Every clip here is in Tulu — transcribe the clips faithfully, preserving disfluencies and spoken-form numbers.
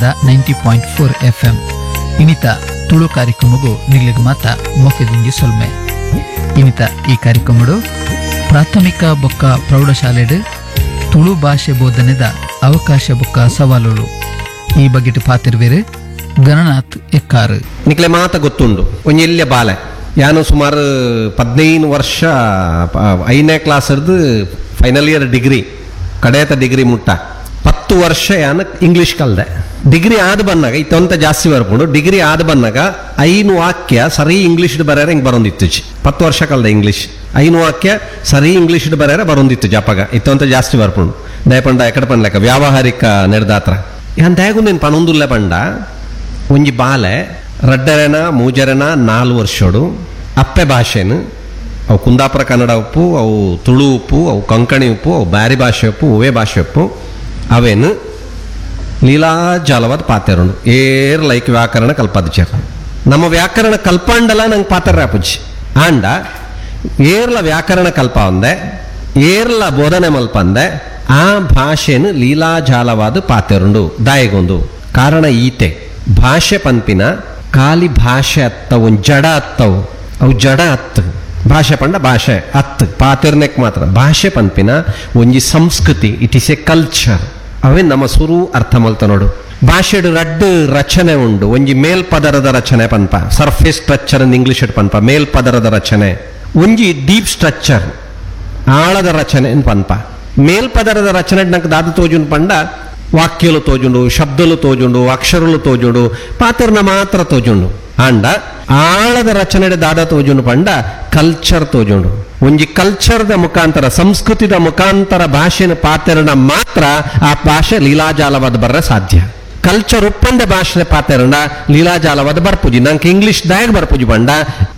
Ninaada ninety point four F M ಇನಿತ ತುಳು ಕಾರ್ಯಕ್ರಮಗೂ ನಿಗ್ಲಿಗ್ ಮಾತ ಮೊಕೆದಿಂಜಿ ಸೊಲ್ಮೆ. ಇನಿತ ಈ ಕಾರ್ಯಕ್ರಮಡು ಪ್ರಾಥಮಿಕ ಬೊಕ್ಕ ಪ್ರೌಢಶಾಲೆಡು ತುಳು ಭಾಷೆ ಬೋಧನೆದ ಅವಕಾಶ ಬೊಕ್ಕ ಸವಾಲುಗಳು ಈ ಬಗೆಟ್ ಪಾತಿರ್ವೇರು ಗಣನಾಥ್ ಎಕ್ಕಾರು. ನಿಕ್ಲೆ ಮಾತ ಗೊತ್ತುಂಡು, ಒಂಜಿ ಎಲ್ಯ ಬಾಲೆ ಯಾನು ಸುಮಾರು ಪದ್ನೈದು ವರ್ಷ ಪ- ಐದನೇ ಕ್ಲಾಸ್ ಹಿಡ್ದು final year degree ಕಡೆಯತ degree ಮುಟ್ಟ ಪತ್ತು ವರ್ಷ ಯಾನು ಇಂಗ್ಲೀಷ್ ಕಲ್ದೆ. ಡಿಗ್ರಿ ಆದ ಬಂದಾಗ ಇತ್ತೊಂತ ಜಾಸ್ತಿ ಬರ್ಕೊಂಡು ಡಿಗ್ರಿ ಆದ ಬಂದಾಗ ಐನು ವಾಕ್ಯ ಸರಿ ಇಂಗ್ಲೀಷ್ ಬರ್ಯಾರ ಹಿಂಗೆ ಬರೋಂದಿತ್ತು. ಪತ್ತು ವರ್ಷ ಕಲ್ದೆ ಇಂಗ್ಲೀಷ್, ಐನು ವಾಕ್ಯ ಸರಿ ಇಂಗ್ಲೀಷ್ ಬರ್ಯಾರ ಬರೋಂದಿತ್ತು ಜಪಗ ಇತ್ತೊಂತ ಜಾಸ್ತಿ ಬರ್ಕೊಂಡು ದಯಪಂಡ ಎಕಡೆ ಪಂಡ್ಲೆಕ್ಕ ವ್ಯಾವಹಾರಿಕ ನೆಡ್ದಾತ್ರ ಯಾನ್ ದಯಗುಂದೇನು ಪನೊಂದುಲ್ಲ ಪಂಡ. ಒಂಜಿ ಬಾಲೆ ರಡ್ಡರೆನ ಮೂಜರೆನ ನಾಲ್ ವರ್ಷೋಡು ಅಪ್ಪೆ ಭಾಷೆನು ಅವು ಕುಂದಾಪುರ ಕನ್ನಡ ಉಪ್ಪು, ಅವು ತುಳು ಉಪ್ಪು, ಅವು ಕೊಂಕಣಿ ಉಪ್ಪು, ಅವು ಬ್ಯಾರಿ ಭಾಷೆ ಉಪ್ಪು, ಒವೇ ಭಾಷೆ ಉಪ್ಪು, ಅವೇನು ಲೀಲಾಜಾಲವಾದ ಪಾತೆರುಂಡು. ಏರ್ ಲೈಕ್ ವ್ಯಾಕರಣ ಕಲ್ಪದ ನಮ್ಮ ವ್ಯಾಕರಣ ಕಲ್ಪಂಡಲ ನಂಗೆ ಪಾತ್ರ ಆಪುಜಿ. ಆಂಡ ಏರ್ಲ ವ್ಯಾಕರಣ ಕಲ್ಪ ಅಂದೆ, ಏರ್ಲ ಬೋಧನೆ ಮಲ್ಪಂದೆ ಆ ಭಾಷೆನು ಲೀಲಾಜಾಲವಾದ ಪಾತೆರುಂಡು. ದಾಯಗೊಂದು ಕಾರಣ ಈತೆ ಭಾಷೆ ಪನ್ಪಿನ ಖಾಲಿ ಭಾಷೆ ಅತ್ತವು ಜಡ ಅತ್ತವು, ಅವು ಜಡ ಅತ್ತು ಭಾಷೆ ಪಂಡ ಭಾಷೆ ಅತ್ತು ಪಾತಿರ್ನೆಕ್ ಮಾತ್ರ. ಭಾಷೆ ಪನ್ಪಿನ ಒಂಜಿ ಸಂಸ್ಕೃತಿ, it is A culture. ಅವೇ ನಮ್ಮ ಸುರು ಅರ್ಥ ಮಲ್ತ ನೋಡು. ಭಾಷೆಡು ರಡ್ಡು ರಚನೆ ಉಂಡು. ಒಂಜಿ ಮೇಲ್ಪದರದ ರಚನೆ ಪನ್ಪ, surface structure in English ಪನ್ಪ ಮೇಲ್ಪದರದ ರಚನೆ, ಒಂಜಿ ಡೀಪ್ ಸ್ಟ್ರಕ್ಚರ್ ಆಳದ ರಚನೆ ಅಂತ ಪನ್ಪ. ಮೇಲ್ಪದರದ ರಚನೆ ನಂಗೆ ದಾದ ತೋಜುನ್ ಪಂಡ ವಾಕ್ಯಲು ತೋಜುಂಡು, ಶಬ್ದಲು ತೋಜುಂಡು, ಅಕ್ಷರಲು ತೋಜುಂಡು, ಪಾತ್ರನ ಮಾತ್ರ ತೋಜುಂಡು. ಆಂಡ ಆಳದ ರಚನೆ ದಾದ ತೋಜುಂಡು ಪಂಡ ಕಲ್ಚರ್ ತೋಜುಂಡು. ಒಂಜಿ ಕಲ್ಚರ್ದ ಮುಖಾಂತರ ಸಂಸ್ಕೃತಿದ ಮುಖಾಂತರ ಭಾಷೆನ ಪಾತ್ರನ ಮಾತ್ರ ಆ ಭಾಷೆ ಲೀಲಾಜಾಲವಾದ ಬರ್ರ ಸಾಧ್ಯ. ಕಲ್ಚರ್ ಉಪ್ಪಂದ ಭಾಷೆ ಪಾತೆರಣ ಲೀಲಾಜಾಲವಾದ ಬರ್ಪುಜಿ. ನಂಗೆ ಇಂಗ್ಲಿಷ್ ದಾಯಕ್ ಬರ್ಪುಜಿ ಬಂಡ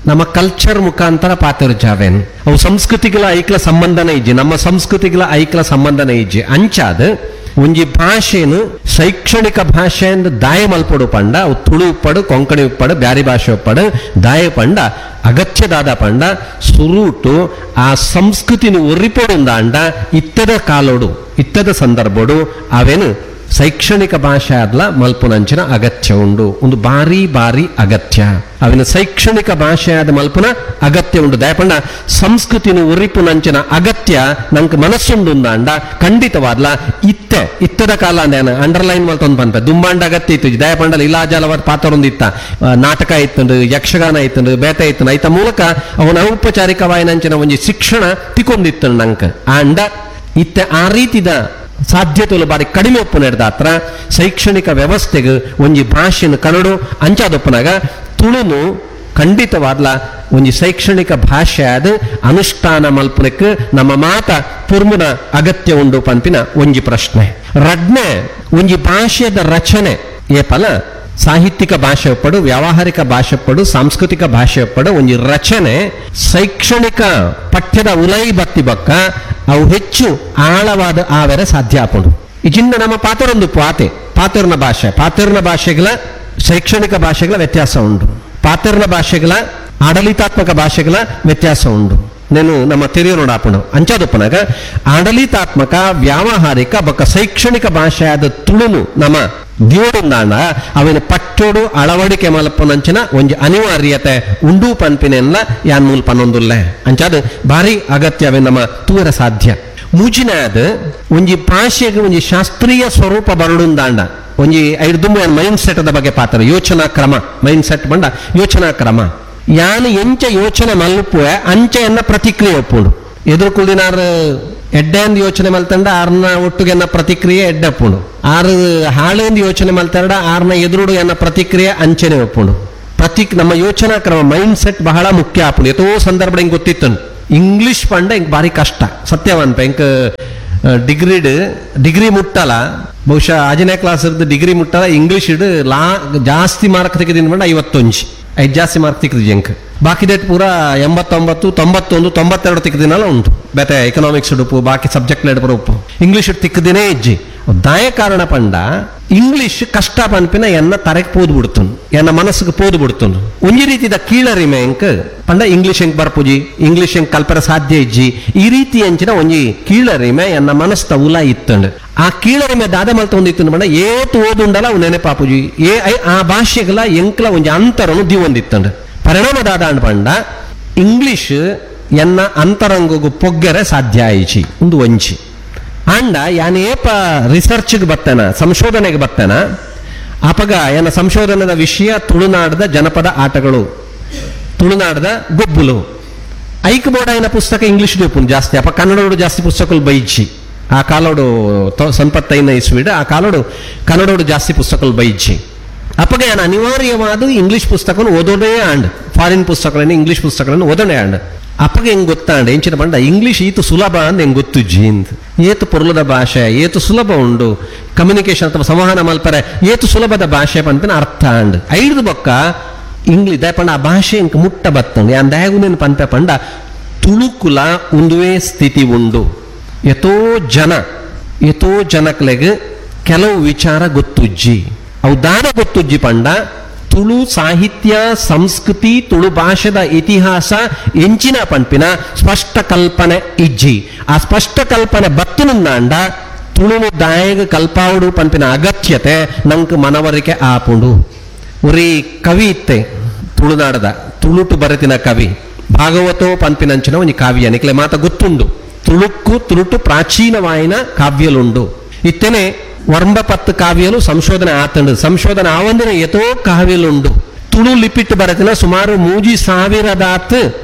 ನಮ್ಮ ಕಲ್ಚರ್ ಮುಖಾಂತರ ಪಾತೆರು ಜಾವೇನು ಅವು ಸಂಸ್ಕೃತಿಗಳ ಐಕ್ಲ ಸಂಬಂಧನ ಇಜ್ಜಿ, ನಮ್ಮ ಸಂಸ್ಕೃತಿಗಳ ಐಕ್ಲ ಸಂಬಂಧನ ಇಜ್ಜಿ. ಅಂಚಾದ ಒಂಜಿ ಭಾಷೆನು ಶೈಕ್ಷಣಿಕ ಭಾಷೆ ಅಂದ್ ದಾಯ ಮಲ್ಪೊಡು ಪಂಡ ಅವು ತುಳು ಉಪ್ಪಡು, ಕೊಂಕಣಿ ಉಪ್ಪಡು, ಬ್ಯಾರಿ ಭಾಷೆ ಉಪ್ಪಡು ದಾಯ ಪಂಡ ಅಗತ್ಯದಾದ ಪಂಡ ಸುರೂಟು ಆ ಸಂಸ್ಕೃತಿನ ಒರಿಪೊಡುಂದ ಅಂಡ ಇತ್ತದ ಕಾಲೋಡು ಇತ್ತದ ಸಂದರ್ಭೋಡು ಅವೇನು ಶೈಕ್ಷಣಿಕ ಭಾಷೆ ಆದ್ಲ ಮಲ್ಪುನಂಚಿನ ಅಗತ್ಯ ಉಂಡು. ಒಂದು ಬಾರಿ ಬಾರಿ ಅಗತ್ಯ ಅವಿನ ಶೈಕ್ಷಣಿಕ ಭಾಷೆ ಆದ ಮಲ್ಪುನ ಅಗತ್ಯ ಉಂಡು. ದಯಪಂಡ ಸಂಸ್ಕೃತಿನ ಉರಿಪುನಂಚಿನ ಅಗತ್ಯ ನಂಗೆ ಮನಸ್ಸುಂಡು ಅಂಡ ಖಂಡಿತವಾದ್ಲ ಇತ್ತೆ ಇತ್ತದ ಕಾಲ ಅಂದ ಅಂಡರ್ಲೈನ್ ಮಲ್ತೊಂದು ಪನ್ಪೆ ದುಂಬಾಂಡ ಅಗತ್ಯ ಇತ್ತು. ದಯಪಂಡಲ ಇಲಾಜಾಲವಾದ ಪಾತ್ರ ಇತ್ತ, ಆ, ನಾಟಕ ಇತ್ತಂಡು, ಯಕ್ಷಗಾನ ಇತ್ತಂಡು, ಬೇತೆ ಇತ್ತಂಡು, ಐತ ಮೂಲಕ ಅವನ ಔಪಚಾರಿಕವಾಯಿನಂಚಿನ ಒಂಜಿ ಶಿಕ್ಷಣ ತಿಕ್ಕೊಂದಿತ್ತು ನಂಕ. ಅಂಡ ಇತ್ತೆ ಆ ರೀತಿದ ಸಾಧ್ಯತೆಗಳು ಬಾರಿ ಕಡಿಮೆ ಒಪ್ಪು ನಡೆದಾತ್ರ ಶೈಕ್ಷಣಿಕ ವ್ಯವಸ್ಥೆಗೆ ಒಂಜಿ ಭಾಷೆನ ಕನ್ನಡ ಅಂಚಾದೊಪ್ಪನಾಗ ತುಳುನು ಖಂಡಿತವಾದ್ಲ ಒಂಜಿ ಶೈಕ್ಷಣಿಕ ಭಾಷೆ ಆದ ಅನುಷ್ಠಾನ ಮಲ್ಪನಕ್ಕೆ ನಮ್ಮ ಮಾತ ಪುರ್ಮುನ ಅಗತ್ಯ ಉಂಡು ಪನ್ಪಿನ ಒಂಜಿ ಪ್ರಶ್ನೆ. ರಡ್ನೆ ಒಂಜಿ ಭಾಷೆದ ರಚನೆ ಏಪಲ ಸಾಹಿತ್ಯಿಕ ಭಾಷೆ ಒಪ್ಪಡು, ವ್ಯಾವಹಾರಿಕ ಭಾಷೆ ಒಪ್ಪಡು, ಸಾಂಸ್ಕೃತಿಕ ಭಾಷೆ ಒಪ್ಪಡು ಒಂಜಿ ರಚನೆ ಶೈಕ್ಷಣಿಕ ಪಠ್ಯದ ಉಲೈ ಬತ್ತಿ ಬಕ್ಕ ಅವು ಹೆಚ್ಚು ಆಳವಾದ ಆವೆರ ಸಾಧ್ಯ ಆಪುಂಡು. ಇಜಿಂದ ನಮ್ಮ ಪಾತರೊಂದು ಪಾತೆ ಪಾತರ್ನ ಭಾಷೆ ಪಾತರ್ನ ಭಾಷೆಗಳ ಶೈಕ್ಷಣಿಕ ಭಾಷೆಗಳ ವ್ಯತ್ಯಾಸ ಉಂಟು, ಪಾತರ್ನ ಭಾಷೆಗಳ ಆಡಳಿತಾತ್ಮಕ ಭಾಷೆಗಳ ವ್ಯತ್ಯಾಸ ಉಂಟು. నేను ನಮ್ಮ ತೆರೆಯೋಣ ಆಪುಂಡು. ಅಂಚಾದೊಪ್ಪನಾಗ ಆಡಳಿತಾತ್ಮಕ ವ್ಯಾವಹಾರಿಕ ಬೊಕ್ಕ ಶೈಕ್ಷಣಿಕ ಭಾಷೆ ಆದ ತುಳುನು ನಮ್ಮ ದಿಯೋಡುಂದಾಂಡ ಅವಿನ ಪಟ್ಟೋಡು ಅಳವಡಿಕೆ ಮಲ್ಪುನಂಚಿನ ಒಂಜಿ ಅನಿವಾರ್ಯತೆ ಉಂಡು ಪನ್ಪಿನೆಲ್ಲ ಯಾನ್ ಮೂಲ್ ಪನ್ನೊಂದುಲ್ಲೆ. ಅಂಚಾದ ಭಾರಿ ಅಗತ್ಯ ಅವೆ ನಮ್ಮ ತೂರ ಸಾಧ್ಯ. ಮೂಜಿನಾದ ಒಂಜಿ ಭಾಷೆಗೆ ಒಂಜಿ ಶಾಸ್ತ್ರೀಯ ಸ್ವರೂಪ ಬರಡುಂದಾಂಡ ಒಂಜಿ ಐದು ಮೈಂಡ್ ಸೆಟ್ದ ಬಗ್ಗೆ ಪಾತ್ರ ಯೋಚನಾ ಕ್ರಮ ಮೈಂಡ್ ಸೆಟ್ ಬಂಡ ಯೋಚನಾ ಕ್ರಮ ಯಾನು ಎಂಚ ಯೋಚನೆ ಮಲ್ಪುವೆ ಅಂಚೆಯನ್ನ ಪ್ರತಿಕ್ರಿಯೆ ಒಪ್ಪುಂಡು. ಎದುರು ಕುಲ್ದಿನಾರು ಎಡ್ಡೆ ಅಂದ್ ಯೋಚನೆ ಮಲ್ತಂಡ ಆರ್ನ ಒಟ್ಟುಗೆನ್ನ ಪ್ರತಿಕ್ರಿಯೆ ಎಡ್ಡೆ ಒಪ್ಪುಂಡು, ಆರು ಹಾಳೆಂದು ಯೋಚನೆ ಮಲ್ತಂಡ ಆರ್ನ ಎದುರುಡು ಎನ್ನ ಪ್ರತಿಕ್ರಿಯೆ ಅಂಚೆನೆ ಒಪ್ಪುಂಡು. ಪ್ರತಿ ನಮ್ಮ ಯೋಚನಾ ಕ್ರಮ ಮೈಂಡ್ ಸೆಟ್ ಬಹಳ ಮುಖ್ಯ ಆಪುಂಡು. ಎತೋ ಸಂದರ್ಭ ಹಿಂಗೆ ಗೊತ್ತಿತ್ತು ಇಂಗ್ಲಿಷ್ ಪಂಡ ಹಿಂಗೆ ಭಾರಿ ಕಷ್ಟ ಸತ್ಯವಂತ ಹಿಂಗೆ ಡಿಗ್ರಿಡ್ ಡಿಗ್ರಿ ಮುಟ್ಟಲ್ಲ, ಬಹುಶಃ ಆಜನೇ ಕ್ಲಾಸ್ ಇರ್ದು ಡಿಗ್ರಿ ಮುಟ್ಟಲ್ಲ ಇಂಗ್ಲಿಷ್ ಇಡ್ ಲಾ ಜಾಸ್ತಿ ಮಾರ್ಕ್ ತೆಗೆದಿನ ಬಂಡ ಐವತ್ತೊಂಜಿ ಐದು ಜಾಸ್ತಿ ಮಾರ್ಕ್ ತಿಕ್ಕದು ಜಂಕ್ ಬಾಕಿದೇಟ್ ಪೂರ ಎಂಬತ್ತೊಂಬತ್ತು ತೊಂಬತ್ತೊಂದು ತೊಂಬತ್ತೆರಡು ತಿಕ್ಕದಿನಲ್ಲ ಉಂಟು. ಬೇತೆ ಎಕನಾಮಿಕ್ಸ್ ಉಡುಪು ಬಾಕಿ ಸಬ್ಜೆಕ್ಟ್ ಉಪ್ಪು ಇಂಗ್ಲಿಷ್ ತಿಕ್ಕದಿನೇ ಇಜ್ಜಿ. ದಾಯ ಕಾರಣ ಪಂಡ ಇಂಗ್ಲಿಷ್ ಕಷ್ಟ ಪನ್ಪಿನ ಎನ್ನ ತರೆಕ್ ಪೋದು ಬಿಡ್ತುನು, ಎನ್ನ ಮನಸ್ಸಿಗೆ ಪೋದು ಬಿಡ್ತುನು. ಒಂಜಿ ರೀತಿದ ಕೀಳರಿಮೆ ಎಂಕ್ ಪಂಡ ಇಂಗ್ಲಿಷ್ ಎಂಕ್ ಬರ್ಪುಜಿ, ಇಂಗ್ಲಿಷ್ ಎಂಕ್ ಕಲ್ಪರ ಸಾಧ್ಯ ಇಜ್ಜಿ, ಈ ರೀತಿ ಅಂಚಿನ ಒಂಜಿ ಕೀಳರಿಮೆ ಎನ್ನ ಮನಸ್ತ ಉಲ ಇತ್ತಂಡು. ಆ ಕೀಳರಿಮೆ ದಾದ ಮಲ್ತ ಒಂದು ಇತ್ತು ಪಂಡ ಏತು ಓದುಂಡಲ ಅವು ನೆನಪಾಪುಜಿ, ಏ ಆ ಭಾಷೆಗಳ ಎಂಕ್ಲ ಒಂಜಿ ಅಂತರನು ದಿವೊಂದಿತ್ತಂಡು. ಪರಿಣಾಮ ದಾದ ಅಂಡ್ ಪಂಡ ಇಂಗ್ಲಿಷ್ ಎನ್ನ ಅಂತರಂಗಗೂ ಪೊಗ್ಗೆರೆ ಸಾಧ್ಯ ಆಯಿಚಿ ಒಂದು ಒಂಜಿ. ಅಂಡ ಯಾನೇಪ ರಿಸರ್ಚ್ಗೆ ಬರ್ತೇನ, ಸಂಶೋಧನೆಗೆ ಬರ್ತೇನ, ಅಪಗ ಏನ ಸಂಶೋಧನೆದ ವಿಷಯ ತುಳುನಾಡದ ಜನಪದ ಆಟಗಳು, ತುಳುನಾಡದ ಗೊಬ್ಬುಲು. ಐಕ್ ಬೋರ್ಡ್ ಪುಸ್ತಕ ಇಂಗ್ಲಿಷ್ ಉಪ್ಪುನು ಜಾಸ್ತಿ, ಅಪ್ಪ ಕನ್ನಡೋಡು ಜಾಸ್ತಿ ಪುಸ್ತಕಗಳು ಬೈಜಿ. ಆ ಕಾಲೋಡು ಸಂಪತ್ತೈನ ಇಸ್ವಿಡು ಆ ಕಾಲೋಡು ಕನ್ನಡೋಡು ಜಾಸ್ತಿ ಪುಸ್ತಕಗಳು ಬೈಜಿ. ಅಪ್ಪಗ ಏನ ಅನಿವಾರ್ಯವಾದ ಇಂಗ್ಲಿಷ್ ಪುಸ್ತಕವನ್ನು ಓದೋದೇ ಆಂಡ್, ಫಾರಿನ್ ಪುಸ್ತಕಗಳನ್ನು ಇಂಗ್ಲಿಷ್ ಪುಸ್ತಕಗಳನ್ನು ಓದೋದೇ ಆಂಡ್. ಅಪ್ಪಗೆ ಹೆಂಗ್ ಗೊತ್ತಾಂಡ ಎಂಚಿನ ಪಂಡ ಇಂಗ್ಲಿಷ್ ಈತು ಸುಲಭ ಅಂದ್ ಹೆಂಗ್ ಗೊತ್ತುಜ್ಜಿ ಅಂತ. ಏತು ಪೊರ್ಲದ ಭಾಷೆ, ಏತು ಸುಲಭ ಉಂಡು ಕಮ್ಯುನಿಕೇಶನ್ ಅಥವಾ ಸಂವಹನ ಮಲ್ಪರೆ ಏತು ಸುಲಭದ ಭಾಷೆ ಪಂಪಿನ ಅರ್ಥ ಅಂಡ್. ಐದು ಬೊಕ್ಕ ಇಂಗ್ಲಿಷ್ ದಯಪಂಡ ಆ ಭಾಷೆ ಇಂಕ ಮುಟ್ಟ ಬತ್ತಂಡು ಯಾನ್ ದಯಗುನೇನು ಪಂಪೆ ಪಂಡ ತುಳುಕುಲ ಉಂದುವೇ ಸ್ಥಿತಿ ಉಂಡು. ಎತೋ ಜನ ಎತೋ ಜನಕ್ಲೆಗ್ ಕೆಲವು ವಿಚಾರ ಗೊತ್ತುಜ್ಜಿ, ಅವು ದಾದ ಗೊತ್ತುಜ್ಜಿ ಪಂಡ ತುಳು ಸಾಹಿತ್ಯ ಸಂಸ್ಕೃತಿ ತುಳು ಭಾಷೆದ ಇತಿಹಾಸ ಎಂಚಿನ ಪಂಪಿನ ಸ್ಪಷ್ಟ ಕಲ್ಪನೆ ಇಜ್ಜಿ. ಆ ಸ್ಪಷ್ಟ ಕಲ್ಪನೆ ಬತ್ತುನುಂದಾಂಡ ತುಳುನು ದಾಯಗ ಕಲ್ಪಾವುಡು ಪಂಪಿನ ಅಗತ್ಯತೆ ನಂಕ್ ಮನವರಿಕೆ ಆಪುಂಡು. ಒರಿ ಕವಿ ಇತ್ತೆ ತುಳುನಾಡದ ತುಳುಟು ಬರೆತಿನ ಕವಿ ಭಾಗವತೋ ಪಂಪಿನಂಚಿನ ಒಂಜಿ ಕಾವ್ಯ ನಿಕ್ಲೆ ಮಾತ ಗೊತ್ತುಂಡು. ತುಳುಕ್ಕು ತುಳುಟು ಪ್ರಾಚೀನವಾಯಿನ ಕಾವ್ಯಲುಂಡು. ಇತ್ತನೆ ವರ್ಂಬಪತ್ತು ಕಾವ್ಯಲು ಸಂಶೋಧನೆ ಆತಂಡು, ಸಂಶೋಧನೆ ಆವಂದಿನ ಎತೋ ಕಾವ್ಯಲುಂಡು. ತುಳು ಲಿಪಿಟ್ ಬರೆತಿನ ಸುಮಾರು ಮೂಜಿ ಸಾವಿರದಾತ್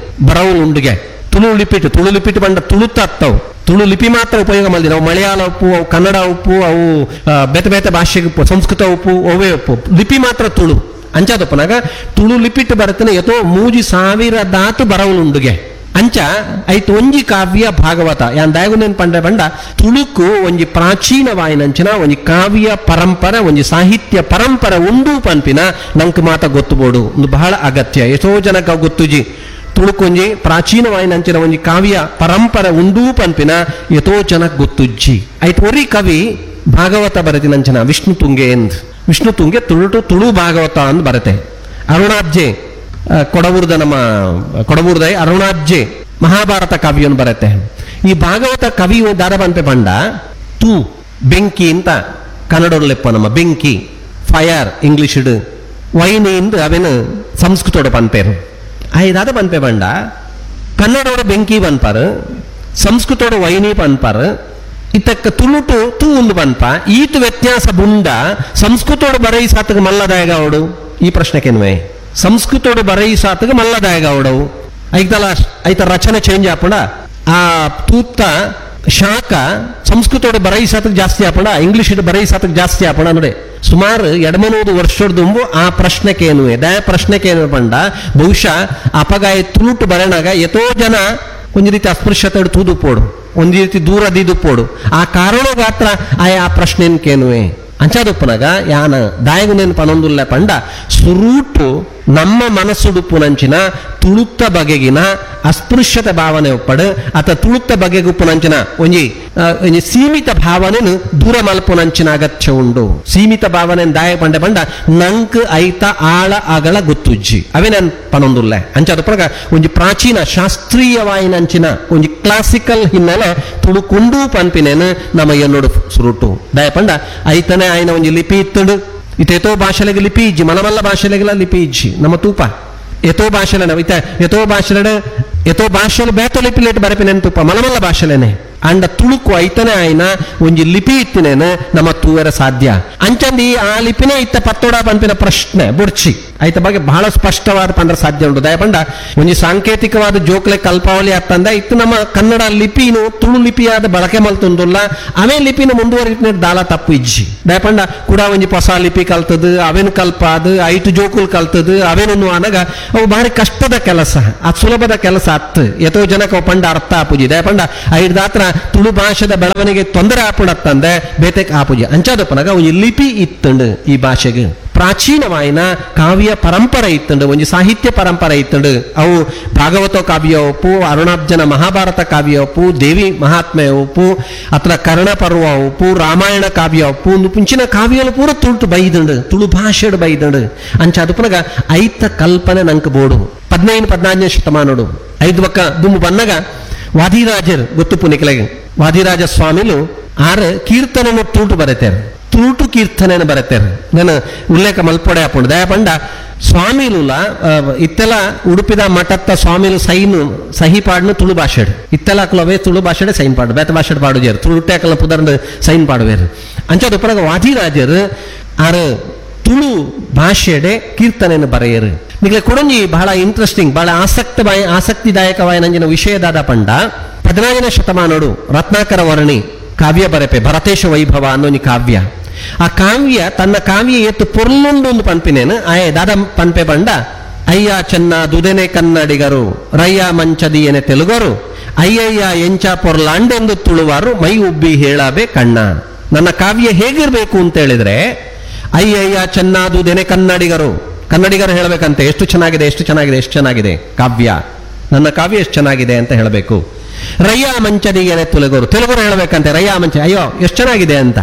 ಬರವುಲುಂಡುಗೆ. ತುಳು ಲಿಪಿಟ್ ತುಳು ಲಿಪಿಟ್ ಬಂಡ ತುಳುತ್ತತ್ತವು, ತುಳು ಲಿಪಿ ಮಾತ್ರ ಉಪಯೋಗ ಮಲ್ದಿನ. ಅವು ಮಲಯಾಳ ಉಪ್ಪು, ಅವು ಕನ್ನಡ ಉಪ್ಪು, ಅವು ಬೇತೆ ಬೇತೆ ಭಾಷೆಗೆ ಉಪ್ಪು, ಸಂಸ್ಕೃತ ಉಪ್ಪು, ಒವೇ ಉಪ್ಪು, ಲಿಪಿ ಮಾತ್ರ ತುಳು. ಅಂಚಾದಪ್ಪನಾಗ ತುಳು ಲಿಪಿಟ್ ಬರೆತಿನ ಎತೋ ಮೂಜಿ ಸಾವಿರದಾತ್ ಬರವುಲುಂಡುಗೆ. ಅಂಚ ಐತು ಒಂಜಿ ಕಾವ್ಯ ಭಾಗವತ ಯಾನ್ ದಾಯಗುನೇನ್ ಪಂಡ ಪಂಡ ತುಳುಕು ಒಂಜಿ ಪ್ರಾಚೀನವಾಯಿನಂಚಿನ ಒಂಜಿ ಕಾವ್ಯ ಪರಂಪರೆ ಒಂಜಿ ಸಾಹಿತ್ಯ ಪರಂಪರೆ ಉಂಡು ಪನ್ಪಿನ ನಂಕ್ ಮಾತ ಗೊತ್ತುಬೋಡು ಒಂದು ಬಹಳ ಅಗತ್ಯ. ಎಷ್ಟೋ ಜನಕ್ಕೆ ಗೊತ್ತುಜಿ ತುಳುಕೊಂಜಿ ಪ್ರಾಚೀನವಾಯಿನಂಚಿನ ಒಂಜಿ ಕಾವ್ಯ ಪರಂಪರೆ ಉಂಡು ಪನ್ಪಿನ ಎತೋ ಜನಕ್ಕೆ ಗೊತ್ತುಜ್ಜಿ. ಐತು ಒರಿ ಕವಿ ಭಾಗವತ ಬರೆತಿನಂಚಿನ ವಿಷ್ಣು ತುಂಗೆ ಎಂದ್, ವಿಷ್ಣು ತುಂಗೆ ತುಳುಟು ತುಳು ಭಾಗವತ ಅಂದ್ ಬರತೆ. ಅರುಣಾಬ್ಜೆ ಕೊಡವೂರ್ದ ನಮ್ಮ ಕೊಡವೂರ್ದ ಅರುಣಾಬ್ಜೆ ಮಹಾಭಾರತ ಕಾವ್ಯವನ್ನು ಬರತ್ತೆ. ಈ ಭಾಗವತ ಕವಿ ದಾರ ಬಂತೆ ಪಂಡ ತೂ ಬೆಂಕಿ ಅಂತ ಕನ್ನಡೋಡ್ಲೆಪ್ಪ ನಮ್ಮ ಬೆಂಕಿ ಫೈರ್ ಇಂಗ್ಲಿಷ್ ವೈನಿ ಎಂದು ಅವೇನು ಸಂಸ್ಕೃತೋಡ ಪನ್ಪೇರು. ಐದಾದ ಪನ್ಪೆ ಪಂಡ ಕನ್ನಡೋಡ ಬೆಂಕಿ ಪನ್ಪಾರು, ಸಂಸ್ಕೃತೋಡ ವೈನಿ ಪನ್ಪಾರು, ಇತ್ತಕ್ಕ ತುಳುಟು ತೂ ಒಂದು ಪನ್ಪ. ಈತು ವ್ಯತ್ಯಾಸ ಬುಂಡ ಸಂಸ್ಕೃತೋಡು ಬರೈ ಸಾತಗ ಮಲ್ಲದಾಯಗ ಅವಡು ಈ ಪ್ರಶ್ನೆಕೆನ್ವೇ ಸಂಸ್ಕೃತೋಡು ಬರೈ ಸಾತಗ ಮಲ್ಲದಾಯಗ ಅವಡವು ಐತಲ್ಲ ಐತ ರಚನೆ ಚೇಂಜ್ ಆಪುಂಡ ಆ ತೂತ ಶಾಖ ಸಂಸ್ಕೃತೋಡು ಬರೈ ಸಾತಗ ಜಾಸ್ತಿ ಆಪುಂಡ ಇಂಗ್ಲಿಷ್ ಬರೈ ಸಾತಗ ಜಾಸ್ತಿ ಆಪುಂಡ ನೋಡಿ. ಸುಮಾರು ಎಡಮನೂರು ವರ್ಷದ ಆ ಪ್ರಶ್ನೆಕೇನು ದಯ ಪ್ರಶ್ನೆಕೇನು ಪಂಡ ಬಹುಶಃ ಅಪಗಾಯ ತುಳುಟು ಬರಣಾಗ ಎತೋ ಜನ ಒಂಜಿ ರೀತಿ ಅಸ್ಪೃಶ್ಯತೆ ತೂದು ಪೋಡು, ಒಂಜಿ ರೀತಿ ದೂರ ದೀದು ಪೋಡು, ಆ ಕಾರಣ ಗಾತ್ರ ಆಯ ಆ ಪ್ರಶ್ನೆನ್ಕೇನುವೆ. ಅಂಚಾದೊಪ್ಪನಾಗ ಯಾನ ದಾಯಗುನೇನು ಪನೊಂದುಲ್ಲ ಪಂಡ ಸುರೂಟು ನಮ್ಮ ಮನಸ್ಸುಡುಪ್ಪುನಂಚಿನ ತುಳುತ್ತ ಬಗೆಗಿನ ಅಸ್ಪೃಶ್ಯತೆ ಭಾವನೆ ಒಪ್ಪಡು ಅಥ ತುಳುತ್ತ ಬಗೆಗುಪ್ಪುನಂಚಿನ ಒಂಜಿ ಒಂಜಿ ಸೀಮಿತ ಭಾವನೆನು ದೂರ ಮಲ್ಪುನಂಚಿನ ಅಗತ್ಯ ಉಂಡು. ಸೀಮಿತ ಭಾವನೆ ದಾಯ ಪಂಡ ಪಂಡ ನಂಕ್ ಐತ ಆಳ ಅಗಳ ಗೊತ್ತುಜ್ಜಿ ಅವೇ ನನ್ ಪನೊಂದುಲ್ಲ. ಅಂಚಾದೊಪ್ಪನಾಗ ಒಂಜಿ ಪ್ರಾಚೀನ ಶಾಸ್ತ್ರೀಯವಾಯಿನಂಚಿನ ಒಂಜಿ ಕ್ಲಾಸಿಕಲ್ ಹಿನ್ನೆಲೆ ತುಳುಕುಂಡು ಪನ್ಪಿನೇನು ನಮ್ಮ ಎನ್ನೋಡು ಸುರುಟು ದಾಯ ಪಂಡ ಐತನೆ ಆಯ್ನ ಒಂಜಿ ಲಿಪಿ ಇತ್ತುಂಡು. ಇತೇತೋ ಭಾಷೆಲೆಗೆ ಲಿಪಿ ಇಜ್ಜಿ, ಮಲಮಲ್ಲ ಭಾಷೆಲೆಗೆಲ್ಲ ಲಿಪಿ ಇಜ್ಜಿ ನಮ್ಮ ತೂಪ ಎತೋ ಭಾಷೆಲೆನ ಇತ ಎತೋ ಭಾಷೆಲೆಡ ಎತೋ ಭಾಷೆಲು ಬೇತೋ ಲಿಪಿ ಲೇಟ್ ಬರಪಿನೇನು ತೂಪ ಮಲಮಲ್ಲ ಭಾಷೆಲೇನೆ. ಅಂಡ ತುಳುಕು ಐತನೆ ಆಯ್ನ ಒಂಜಿ ಲಿಪಿ ಇತ್ತಿನೇನು ನಮ್ಮ ತೂವರ ಸಾಧ್ಯ. ಅಂಚಂದಿ ಆ ಲಿಪಿನೇ ಇತ್ತ ಪತ್ತೋಡ ಪನ್ಪಿನ ಪ್ರಶ್ನೆ ಬುಡ್ಚಿ ಐತ ಬಗ್ಗೆ ಬಹಳ ಸ್ಪಷ್ಟವಾದ ಪಂದ್ರ ಸಾಧ್ಯ ಉಂಟು. ದಯಪಂಡ ಒಂಜಿ ಸಾಂಕೇತಿಕವಾದ ಜೋಕ್ಲೆ ಕಲ್ಪಾವಳಿ ಅತ್ತಂದ ಇತ್ತು ನಮ್ಮ ಕನ್ನಡ ಲಿಪಿನು ತುಳು ಲಿಪಿಯಾದ ಬಳಕೆ ಮಲ್ತುಂದುಲ್ಲ ಅವೇ ಲಿಪಿನ ಮುಂದುವರಿನ ದಾಲ ತಪ್ಪು ಇಜ್ಜಿ. ದಯಪಂಡ ಕೂಡ ಒಂಜಿ ಹೊಸ ಲಿಪಿ ಕಲ್ತದು ಅವೇನು ಕಲ್ಪಾದು ಐಟು ಜೋಕುಲ್ ಕಲ್ತದು ಅವೇನು ಅನಗ ಅವು ಭಾರಿ ಕಷ್ಟದ ಕೆಲಸ, ಅದು ಸುಲಭದ ಕೆಲಸ ಅತ್ತು ಎತೋ ಜನಕ್ಕೆ ಅವು ಪಂಡ ಅರ್ಥ ಆಪುಜಿ. ದಯಪಂಡ ಐಡ್ದಾತ್ರ ತುಳು ಭಾಷೆದ ಬೆಳವಣಿಗೆ ತೊಂದರೆ ಆಪುಣತ್ತಂದೆ ಬೇತೆಕ್ ಆಪುಜಿ. ಅಂಚಾದಪ್ಪನಾಗ ಒಂಜಿ ಲಿಪಿ ಇತ್ತಂಡು ಈ ಭಾಷೆಗೆ ಪ್ರಾಚೀನವಾಯಿನ ಕಾವ್ಯ ಪರಂಪರೆ ಇತ್ತಂಡು, ಒಂಜಿ ಸಾಹಿತ್ಯ ಪರಂಪರೆ ಇತ್ತಂಡು. ಅವು ಭಾಗವತ ಕಾವ್ಯ ಒಪ್ಪು, ಅರುಣಾಬ್ಜನ ಮಹಾಭಾರತ ಕಾವ್ಯ ಒಪ್ಪು, ದೇವಿ ಮಹಾತ್ಮೆ ಒಪ್ಪು, ಅತ್ರ ಕರ್ಣಪರ್ವ ಒಪ್ಪು, ರಾಮಾಯಣ ಕಾವ್ಯ ಒಪ್ಪು, ಒಂದು ಪುಂಚಿನ ಕಾವ್ಯಲು ಪೂರ ತುಳುಟು ಬೈದಂಡು, ತುಳು ಭಾಷೆಡು ಬೈದಂಡು. ಅಂಚ ಅದು ಪುನಗ ಐತ ಕಲ್ಪನೆ ನಂಕ್ ಬೋಡು. ಪದ್ನೈದು ಪದ್ನಾಲ್ಕನೇ ಶತಮಾನೋಡು ಐದು ಬಕ್ಕ ದುಂಬು ಬನ್ನಗ ವಾದಿರಾಜರ್ ಗೊತ್ತುಪ್ಪು ನಿಕಲೆಗೆ, ವಾದಿರಾಜ ಸ್ವಾಮಿಲು ಆರು ಕೀರ್ತನೆಯನ್ನು ತುಳುಟು ಬರೆತಾರೆ, ತುಳುಟು ಕೀರ್ತನೆಯನ್ನು ಬರೆತಾರೆ. ನಾನು ಉಲ್ಲೇಖ ಮಲ್ಪೊಡೆ ಹಾಕೊಂಡು ದಯಪಂಡ ಸ್ವಾಮಿಲುಲ ಇತ್ತೆಲ್ಲ ಉಡುಪಿದ ಮಠತ್ತ ಸ್ವಾಮಿಲು ಸೈನು ಸಹಿ ಪಾಡ್ನು ತುಳು ಭಾಷೆಡ್ ಇತ್ತೆಲ್ಲ ಅಕ್ಲವೇ ತುಳು ಭಾಷೆಡೆ ಸೈನ್ ಪಾಡು, ಬೇತ ಭಾಷೆಡ್ ಪಾಡುಜೇರು, ತುಳುಟೆ ಅಕಲ ಪುದರ್ದು ಸೈನ್ ಪಾಡುವೇರು. ಅಂಚದ ಉಪರಾಗ ವಾದಿರಾಜರು ಆರು ತುಳು ಭಾಷೆಡೆ ಕೀರ್ತನೆಯನ್ನು ಬರೆಯರು. ನಿಮಗೆ ಕೊಡೊಂಜಿ ಬಹಳ ಇಂಟ್ರೆಸ್ಟಿಂಗ್, ಬಹಳ ಆಸಕ್ತ ಆಸಕ್ತಿದಾಯಕವಾದ ನಂಜಿನ ವಿಷಯದಾದ ಪಂಡ ಹದಿನಾಲ್ಕನೇ ಶತಮಾನೋಡು ರತ್ನಾಕರ ವರ್ಣಿ ಕಾವ್ಯ ಬರೆಪೆ ಭರತೇಶ ವೈಭವ ಅನ್ನೊಂಜಿ ಕಾವ್ಯ. ಆ ಕಾವ್ಯ ತನ್ನ ಕಾವ್ಯ ಏತು ಪೊರ್ಲುಂಡು ಒಂದು ಪನ್ಪಿನೇನು ಆಯೆ ದಾದ ಪನ್ಪೆ ಬಂಡ ಅಯ್ಯ ಚೆನ್ನ ದುದೆನೆ ಕನ್ನಡಿಗರು ರಯ್ಯ ಮಂಚದಿಯನೆ ತೆಲುಗರು ಅಯ್ಯಯ್ಯ ಎಂಚ ಪೊರ್ಲಾಂಡೆಂದು ತುಳುವಾರು ಮೈ ಉಬ್ಬಿ ಹೇಳಬೆ ಕಣ್ಣ. ನನ್ನ ಕಾವ್ಯ ಹೇಗಿರ್ಬೇಕು ಅಂತ ಹೇಳಿದ್ರೆ ಅಯ್ಯಯ್ಯ ಚೆನ್ನಾದುದೆನೆ ಕನ್ನಡಿಗರು, ಕನ್ನಡಿಗರು ಹೇಳಬೇಕಂತೆ ಎಷ್ಟು ಚೆನ್ನಾಗಿದೆ ಎಷ್ಟು ಚೆನ್ನಾಗಿದೆ ಎಷ್ಟು ಚೆನ್ನಾಗಿದೆ ಕಾವ್ಯ, ನನ್ನ ಕಾವ್ಯ ಎಷ್ಟು ಚೆನ್ನಾಗಿದೆ ಅಂತ ಹೇಳಬೇಕು. ರಯ್ಯ ಮಂಚದಿಯನೆ ತೆಲುಗರು, ತೆಲುಗರು ಹೇಳಬೇಕಂತೆ ರಯ್ಯ ಮಂಚ ಅಯ್ಯೋ ಎಷ್ಟು ಚೆನ್ನಾಗಿದೆ ಅಂತ.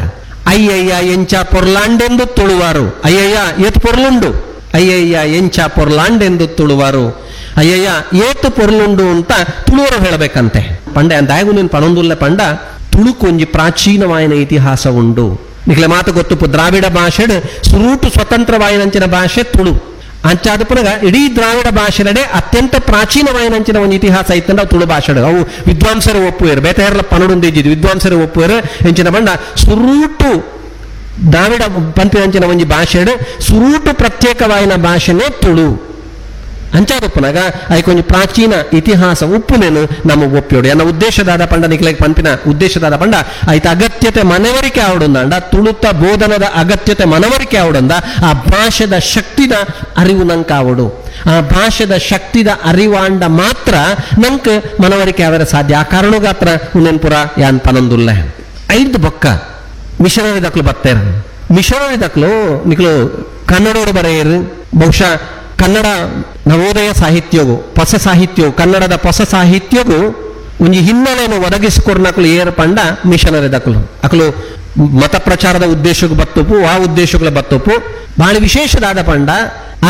ಅಯ್ಯಯ್ಯ ಎಂಚ ಪೊರ್ಲಾಂಡೆಂದು ತುಳುವಾರು, ಅಯ್ಯಯ್ಯ ಏತು ಪೊರ್ಲುಂಡು, ಅಯ್ಯಯ್ಯ ಎಂಚ ಪೊರ್ಲಾಂಡೆಂದು ತುಳುವಾರು, ಅಯ್ಯಯ್ಯ ಏತು ಪೊರ್ಲುಂಡು ಅಂತ ತುಳುವರು ಹೇಳಬೇಕಂತೆ. ಪಂಡ ಅಂದಾಗೂ ನೀನು ಪಣೊಂದುಲ್ಲ ಪಂಡ ತುಳುಕೊಂಜಿ ಪ್ರಾಚೀನವಾಯಿನ ಇತಿಹಾಸ ಉಂಡು. ನಿಕ್ಲೆ ಮಾತು ಗೊತ್ತುಪ್ಪು ದ್ರಾವಿಡ ಭಾಷೆಡ್ ಸುರೂಟು ಸ್ವತಂತ್ರವಾಯಿನಂಚಿನ ಭಾಷೆ ತುಳು. ಅಂಚಾದ ಪುನಗ ಇಡೀ ದ್ರಾವಿಡ ಭಾಷೆನಡೆ ಅತ್ಯಂತ ಪ್ರಾಚೀನವಾಯಿನಂಚಿನ ಒಂದು ಇತಿಹಾಸ ಇತ್ತಂದ್ರೆ ಅವು ತುಳು ಭಾಷೆ. ಅವು ವಿದ್ವಾಂಸರು ಒಪ್ಪುವೇರು, ಬೇತೆಯರ್ಲ ಪನಡುಂದಿದ್ದು ವಿದ್ವಾಂಸರು ಒಪ್ಪುವೇರು. ಎಂಚಿನ ಬಂಡ ಸುರೂಟು ದ್ರಾವಿಡ ಪಂಪಿನಂಚಿನ ಒಂಜಿ ಭಾಷೆಡ್ ಸುರೂಟು ಪ್ರತ್ಯೇಕವಾಯಿನ ಭಾಷೆನೇ ತುಳು. ಅಂಚಾದ ಪುನಗ ಐಕೊಂಜಿ ಪ್ರಾಚೀನ ಇತಿಹಾಸ ಉಪ್ಪುನೇನು ನಮ್ಮ ಒಪ್ಪಿಯೋಡು. ಎನ್ನ ಉದ್ದೇಶದಾದ ಪಂಡ ನಿಕ್ಲೆಗ್ ಪಂಪಿನ ಉದ್ದೇಶದಾದ ಪಂಡ ಐತ ಅಗತ್ಯತೆ ಮನವರಿಕೆ ಆವಡುಂದ, ತುಳುತ ಬೋಧನದ ಅಗತ್ಯತೆ ಮನವರಿಕೆ ಆವಡುಂದ, ಆ ಭಾಷೆದ ಶಕ್ತಿದ ಅರಿವು ನಂಕಾವಡು. ಆ ಭಾಷೆದ ಶಕ್ತಿದ ಅರಿವಾಂಡ ಮಾತ್ರ ನಂಕ್ ಮನವರಿಕೆ ಆವರ ಸಾಧ್ಯ. ಆ ಕಾರಣಗಾತ್ರ ಉನ್ನೆನ್ಪುರ ಯಾನ್ ಪನೊಂದುಲ್ಲ. ಐದು ಬೊಕ್ಕ ಮಿಷನರಿ ದಕ್ಲು ಬತ್ತೇರ, ಮಿಷನರಿ ದಕ್ಲು ನಿಕ್ಲು ಕನ್ನಡೋಡು ಬರೆಯರು. ಬಹುಶಃ ಕನ್ನಡ ನವೋದಯ ಸಾಹಿತ್ಯವು ಹೊಸ ಸಾಹಿತ್ಯವು ಕನ್ನಡದ ಹೊಸ ಸಾಹಿತ್ಯವು ಒಂಜಿ ಹಿನ್ನೆಲೆಯನ್ನು ಒದಗಿಸಿಕೊರ್ನಕಲು ಏರ್ ಪಂಡ ಮಿಷನರಿ ದಕಲು. ಅಕಲು ಮತ ಪ್ರಚಾರದ ಉದ್ದೇಶಕ್ಕೆ ಬತ್ತುಪು, ಆ ಉದ್ದೇಶಗಳ ಬತ್ತುಪು. ಬಹಳ ವಿಶೇಷದಾದ ಪಂಡ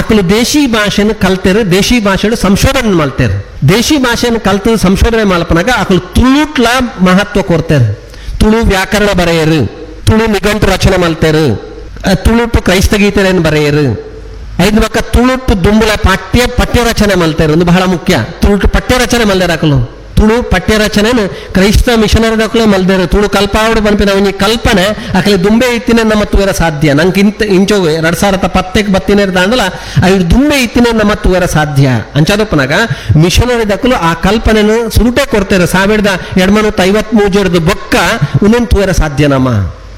ಅಕಲು ದೇಶಿ ಭಾಷೆಯನ್ನು ಕಲ್ತೇರು, ದೇಶಿ ಭಾಷೆಡು ಸಂಶೋಧನೆ ಮಾಡ್ತೇರು. ದೇಶಿ ಭಾಷೆಯನ್ನು ಕಲ್ತು ಸಂಶೋಧನೆ ಮಲ್ಪನಾಗ ಅಕಲು ತುಳುಟ್ಲ ಮಹತ್ವ ಕೊಡ್ತೇರು. ತುಳು ವ್ಯಾಕರಣ ಬರೆಯರು, ತುಳು ನಿಘಂಟು ರಚನೆ ಮಾಡ್ತೇರು, ತುಳುಟು ಕ್ರೈಸ್ತ ಗೀತೆಯನ್ನು ಬರೆಯರು. ಐದು ಪಕ್ಕ ತುಳುಟು ದುಂಬುಲ ಪಠ್ಯ ಪಠ್ಯ ರಚನೆ ಮಲ್ತೇರು, ಒಂದು ಬಹಳ ಮುಖ್ಯ. ತುಳುಟು ಪಠ್ಯ ರಚನೆ ಮಲ್ದೇರು ಅಕಲು, ತುಳು ಪಠ್ಯ ರಚನೆ ಕ್ರೈಸ್ತ ಮಿಷನರಿ ದಕ್ಕಲೆ ಮಲ್ದೇರು. ತುಳು ಕಲ್ಪಾವಡು ಪನ್ಪಿನ ಒಂಜಿ ಕಲ್ಪನೆ ಅಕಲೆ ದುಂಬೆ ಇತ್ತಿನ ನಮ್ಮ ತೂವರ ಸಾಧ್ಯ. ನಂಗೆ ಇಂತ ಇಂಚೋ ಎರಡ್ ಸಾವಿರದ ಪತ್ತೆಗೆ ಬತ್ತಿನ ದಾಂಡಲ ಐದು ದುಂಬೆ ಇತ್ತಿನ ನಮ್ಮ ತೂವರ ಸಾಧ್ಯ. ಅಂಚಾದಪ್ಪನಾಗ ಮಿಷನರಿ ದಕ್ಕಲು ಆ ಕಲ್ಪನೆನು ಸುರುಟೆ ಕೊಡ್ತೇರು. ಸಾವಿರದ ಎರಡ್ಮನೂತ್ತ ಐವತ್ ಮೂಜರದು ಬೊಕ್ಕ ಉನ್ನೊಂದು ತೂವರ ಸಾಧ್ಯ ನಮ್ಮ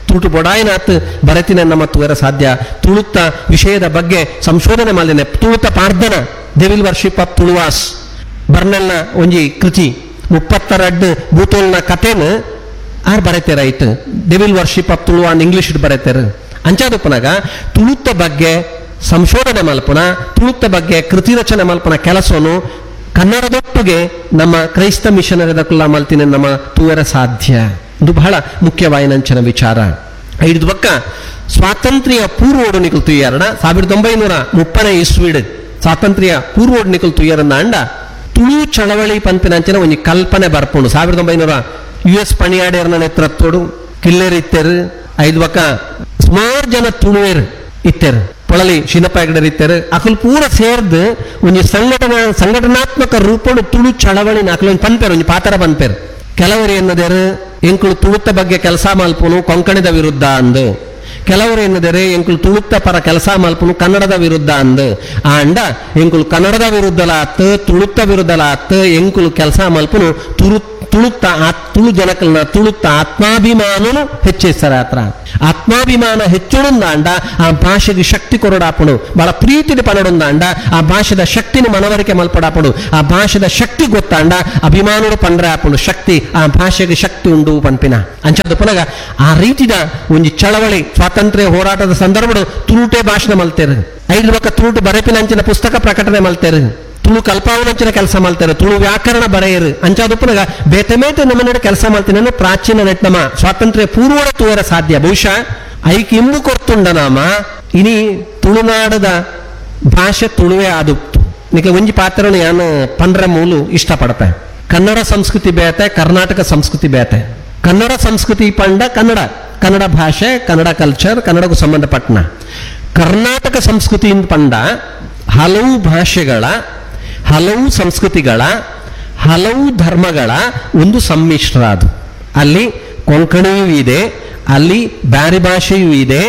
ತುಳುಟು ಬೊಡಾಯಿನಾತ್ ಬರತಿನ ನಮ್ಮ ತೂವರ ಸಾಧ್ಯ. ತುಳುತ್ತ ವಿಷಯದ ಬಗ್ಗೆ ಸಂಶೋಧನೆ ಮಾಲಿನ ತುಳುತ ಪಾರ್ದನ devil worship of Tuluvas ಬರ್ನೆಲ್ನ ಒಂಜಿ ಕೃತಿ ಮುಪ್ಪತ್ತರಡ್ಡು ಬೂತೋಲ್ನ ಕಥೆನ ಆರ್ ಬರೆತೇರ ಆಯ್ತು. Devil worship of Tuluva English ಬರೆತೇರು. ಅಂಚಾದಪ್ಪನಾಗ ತುಳುತ್ತ ಬಗ್ಗೆ ಸಂಶೋಧನೆ ಮಲ್ಪನ, ತುಳುತ್ತ ಬಗ್ಗೆ ಕೃತಿ ರಚನೆ ಮಲ್ಪನ ಕೆಲಸವನ್ನು ಕನ್ನಡದೊಟ್ಟಿಗೆ ನಮ್ಮ ಕ್ರೈಸ್ತ ಮಿಷನರಿದ ಕುಲ್ಲ ಮಲ್ತಿನ ನಮ್ಮ ತೂವರ ಸಾಧ್ಯ. ಇದು ಬಹಳ ಮುಖ್ಯವಾಯಿನಂಚಿನ ವಿಚಾರ. ಐದು ಬಕ್ಕ ಸ್ವಾತಂತ್ರ್ಯ ಪೂರ್ವೋಡು ನಿಕಲ್ ತುಯ್ಯಾರಣ ಸಾವಿರದ ಒಂಬೈನೂರ ಮುಪ್ಪನೇ ಇಸ್ವಿಡ್ ಸ್ವಾತಂತ್ರ್ಯ ಪೂರ್ವೋಡು ನಿಕಲ್ ತುಯ್ಯಾರನ್ನ ಅಂಡ ತುಳು ಚಳವಳಿ ಪಂಪಿನಂಚಿನ ಒಂಜಿ ಕಲ್ಪನೆ ಬರ್ಪುಂಡು. ಸಾವಿರದ ಒಂಬೈನೂರ ಯು ಎಸ್ ಪಣಿಯಾಡೇರ್ನ ನೇತೃತ್ವಡು ಕಿಲ್ಲೇರ್ ಇತ್ತೇರು, ಐದು ಬಕ್ಕ ಸುಮಾರು ಜನ ತುಳುವೇರು ಇತ್ತೇರು, ಪೊಳಲಿ ಶಿನಪ್ಪ ಹೆಗಡೆರ್ ಇತ್ತೇರು. ಅಕಲ್ ಪೂರ ಸೇರ್ದು ಒಂಜಿ ಸಂಘಟನಾ ಸಂಘಟನಾತ್ಮಕ ರೂಪಡು ತುಳು ಚಳವಳಿನ ಅಕಲ್ ಒಂಜಿ ಪನ್ಪೇರು, ಒಂಜಿ ಪಾತ್ರ ಪನ್ಪೇರು. ಕೆಲವರು ಎನ್ನದೇರು ಎಂಕುಲು ತುಳುತ್ತ ಬಗ್ಗೆ ಕೆಲಸ ಮಲ್ಪುನು ಕೊಂಕಣಿದ ವಿರುದ್ಧ ಅಂದು, ಕೆಲವರು ಎನ್ನದೇರು ಎಂಕುಲು ತುಳುತ್ತ ಪರ ಕೆಲಸ ಮಲ್ಪುನು ಕನ್ನಡದ ವಿರುದ್ಧ ಅಂದು. ಆಂಡ ಎಂಕುಲು ಕನ್ನಡದ ವಿರುದ್ಧಲ ಆತ್ ತುಳುತ್ತ ವಿರುದ್ಧಲ ಆತ್ ಎಂಕುಲು ಕೆಲಸ ಮಲ್ಪುನು ತುಳು ತುಳುತ್ತ ತುಳು ಜನಕಲ್ನ ತುಳುತ್ತ ಆತ್ಮಾಭಿಮಾನನು ಹೆಚ್ಚಿಸ್ತಾರ ಹತ್ರ. ಆತ್ಮಾಭಿಮಾನ ಹೆಚ್ಚುಂದಾಂಡ ಆ ಭಾಷೆಗೆ ಶಕ್ತಿ ಕೊರಡಾಪುಣು, ಬಹಳ ಪ್ರೀತಿದ ಪನಡುಂದಾಂಡ ಆ ಭಾಷೆದ ಶಕ್ತಿನ ಮನವರಿಕೆ ಮಲ್ಪಡಾಪುಣು, ಆ ಭಾಷೆದ ಶಕ್ತಿ ಗೊತ್ತಾಂಡ ಅಭಿಮಾನರು ಪಂಡ್ರೆ ಆಪುಣು ಶಕ್ತಿ, ಆ ಭಾಷೆಗೆ ಶಕ್ತಿ ಉಂಡು ಪನ್ಪಿನ ಅಂಚದ ಪುನಗ ಆ ರೀತಿದ ಒಂಜಿ ಚಳವಳಿ ಸ್ವಾತಂತ್ರ್ಯ ಹೋರಾಟದ ಸಂದರ್ಭಡು ತುಳುಟೆ ಭಾಷಣ ಮಲ್ತೇರು, ಐದು ಬಕ್ಕ ತುಳುಟು ಬರೆಪಿನ ಅಂಚಿನ ಪುಸ್ತಕ ಪ್ರಕಟಣೆ ಮಲ್ತೇರು, ತುಳು ಕಲ್ಪಾವನಂಚಿನ ಕೆಲಸ ಮಾಡ್ತಾರೆ, ತುಳು ವ್ಯಾಕರಣ ಬರೆಯರು ಅಂಚಾದಪ್ಪನಾಗ ಬೇತೆ ಮೇತೆ ನಮ್ಮನ್ನ ಕೆಲಸ ಮಾಡ್ತೀನಿ. ಪ್ರಾಚೀನ ನೆಟ್ ನಮ್ಮ ಸ್ವಾತಂತ್ರ್ಯ ಪೂರ್ವದ ತೂವರ ಸಾಧ್ಯ ಬಹುಶಃ ಐಕ್ ಇಂಬು ಕೊರ್ತುಂಡ ನಾಮ ಇನಿ ತುಳುನಾಡದ ಭಾಷೆ ತುಳುವೆ ಆದುಪ್ತು. ನಿಕ್ಕೆ ಒಂಜಿ ಪಾತ್ರನು ಯಾನು ಪಂಡ್ರ ಮೂಲು ಇಷ್ಟಪಡತೆ. ಕನ್ನಡ ಸಂಸ್ಕೃತಿ ಬೇತೆ, ಕರ್ನಾಟಕ ಸಂಸ್ಕೃತಿ ಬೇತೆ. ಕನ್ನಡ ಸಂಸ್ಕೃತಿ ಪಂಡ ಕನ್ನಡ, ಕನ್ನಡ ಭಾಷೆ, ಕನ್ನಡ ಕಲ್ಚರ್, ಕನ್ನಡಕ್ಕೂ ಸಂಬಂಧಪಟ್ಟನ. ಕರ್ನಾಟಕ ಸಂಸ್ಕೃತಿ ಪಂಡ ಹಲವು ಭಾಷೆಗಳ, ಹಲವು ಸಂಸ್ಕೃತಿಗಳ, ಹಲವು ಧರ್ಮಗಳ ಒಂದು ಸಮ್ಮಿಶ್ರ ಅದು. ಅಲ್ಲಿ ಕೊಂಕಣಿಯೂ ಇದೆ, ಅಲ್ಲಿ ಬ್ಯಾರಿ ಭಾಷೆಯೂ ಇದೆ,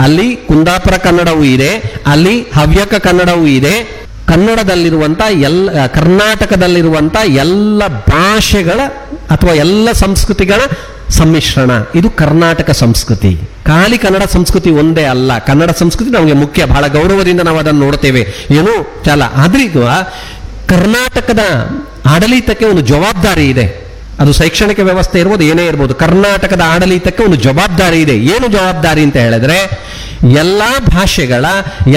ಅಲ್ಲಿ ಕುಂದಾಪುರ ಕನ್ನಡವೂ ಇದೆ, ಅಲ್ಲಿ ಹವ್ಯಕ ಕನ್ನಡವೂ ಇದೆ. ಕನ್ನಡದಲ್ಲಿರುವಂಥ ಎಲ್ಲ, ಕರ್ನಾಟಕದಲ್ಲಿರುವಂಥ ಎಲ್ಲ ಭಾಷೆಗಳ ಅಥವಾ ಎಲ್ಲ ಸಂಸ್ಕೃತಿಗಳ ಸಮ್ಮಿಶ್ರಣ ಇದು ಕರ್ನಾಟಕ ಸಂಸ್ಕೃತಿ. ಖಾಲಿ ಕನ್ನಡ ಸಂಸ್ಕೃತಿ ಒಂದೇ ಅಲ್ಲ, ಕನ್ನಡ ಸಂಸ್ಕೃತಿ ನಮಗೆ ಮುಖ್ಯ, ಬಹಳ ಗೌರವದಿಂದ ನಾವು ಅದನ್ನು ನೋಡ್ತೇವೆ, ಏನೂ ಚಾಲ. ಆದ್ರೆ ಈಗ ಕರ್ನಾಟಕದ ಆಡಳಿತಕ್ಕೆ ಒಂದು ಜವಾಬ್ದಾರಿ ಇದೆ. ಅದು ಶೈಕ್ಷಣಿಕ ವ್ಯವಸ್ಥೆ ಇರ್ಬೋದು, ಏನೇ ಇರ್ಬೋದು, ಕರ್ನಾಟಕದ ಆಡಳಿತಕ್ಕೆ ಒಂದು ಜವಾಬ್ದಾರಿ ಇದೆ. ಏನು ಜವಾಬ್ದಾರಿ ಅಂತ ಹೇಳಿದ್ರೆ, ಎಲ್ಲ ಭಾಷೆಗಳ,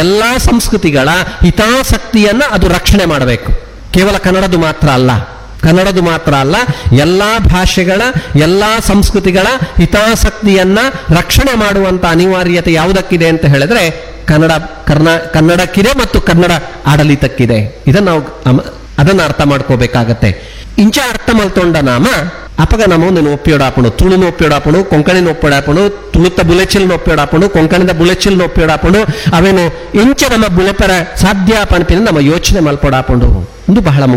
ಎಲ್ಲ ಸಂಸ್ಕೃತಿಗಳ ಹಿತಾಸಕ್ತಿಯನ್ನು ಅದು ರಕ್ಷಣೆ ಮಾಡಬೇಕು. ಕೇವಲ ಕನ್ನಡದು ಮಾತ್ರ ಅಲ್ಲ, ಕನ್ನಡದು ಮಾತ್ರ ಅಲ್ಲ, ಎಲ್ಲ ಭಾಷೆಗಳ, ಎಲ್ಲ ಸಂಸ್ಕೃತಿಗಳ ಹಿತಾಸಕ್ತಿಯನ್ನ ರಕ್ಷಣೆ ಮಾಡುವಂತ ಅನಿವಾರ್ಯತೆ ಯಾವುದಕ್ಕಿದೆ ಅಂತ ಹೇಳಿದ್ರೆ ಕನ್ನಡ ಕರ್ನಾ ಕನ್ನಡಕ್ಕಿದೆ ಮತ್ತು ಕನ್ನಡ ಆಡಳಿತಕ್ಕಿದೆ. ಇದನ್ನು ನಾವು ಅದನ್ನು ಅರ್ಥ ಮಾಡ್ಕೋಬೇಕಾಗತ್ತೆ. ಇಂಚ ಅರ್ಥ ಮಲ್ತೊಂಡ ನಾಮ ಅಪಗ ನಮ್ಮ ಒಂದು ಒಪ್ಪಿಯೋಡಾಪಣು, ತುಳುನ ಒಪ್ಪಿಯೋಡಾಪಣು, ಕೊಂಕಣಿನ ಒಪ್ಪಿಯೋಡಾಪಣು, ತುಳುತ್ತ ಬುಲೆಚಿಲ್ನ ಒಪ್ಪಿಯೋಡಾಪಣು, ಕೊಂಕಣಿದ ಬುಲೆಚಿಲ್ನ ಒಪ್ಪಿಯೋಡಾಪಣು, ಅವೇನು ಇಂಚ ನಮ್ಮ ಬುಲೆಪರ ಸಾಧ್ಯ ಪಣಪಿನ ನಮ್ಮ ಯೋಚನೆ ಮಲ್ಪೊಡಾಪಣು ಒಂದು ಬಹಳ ಮುಖ್ಯ.